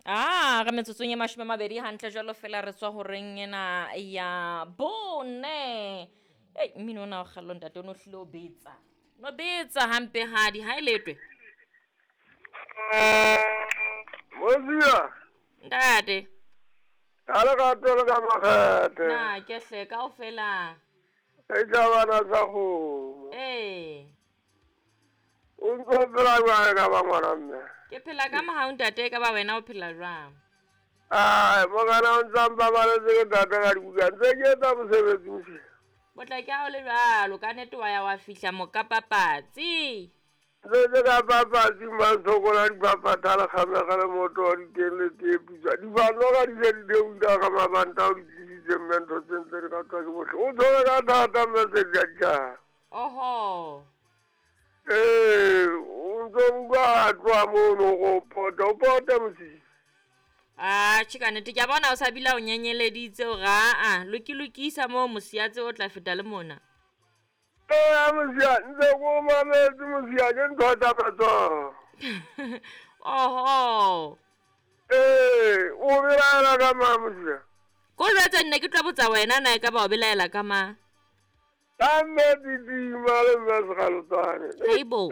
A re metsotsong e 20 hantle jwalo fela re tswa horeng ena ya 4. Ei, mmino ona wa kgallo ntate o no hlile o betsa. No betsa hampe hadi ha e letwe. Mosia. Ntate. Ka le ka tole ka makgethe. Na ke hle kaofela. E tjabana sa kgomo. Ee. O ntso phela jwang ka ba ngwana mme? Ke phela ka mohau ntate, ka ba wena o phela jwang? Ai, mokana o ntsa mpabaletse ke ntate ka dibuka ntse ke etsa mosebetsi mosia. Botla ke ha o le jwalo, ka nnete wa ya wa fihla mokapapatsi. Ntse ke ka papatsi masokola dipapatha le kgamega le moto wa diteng le tee putswa. Dibanoka di se di theohile ka mabanta o di tlisitse mme ntho tse ntse di ratwa ke bohle. O tshwere ka thata mme se di a ditjhaba. Oho. Ee, o ntso utlwa a tloha mono go pota, o pota mosia. Ah, tjhe ka nnete ke a bona o sa bile o nyenyeleditse hore aa lokilokisa moo mosiatse o tla feta le mona. Ee, mosia ntse ko mametse mosia ke ntho tsa matsoho. Oho. Ee, o belaela ka mang mosia? Ko jwetse nne ke tlo botsa wena na e ka ba o belaela ka mang? Ka mme Titima le mme Sekgalotswane. Haibo.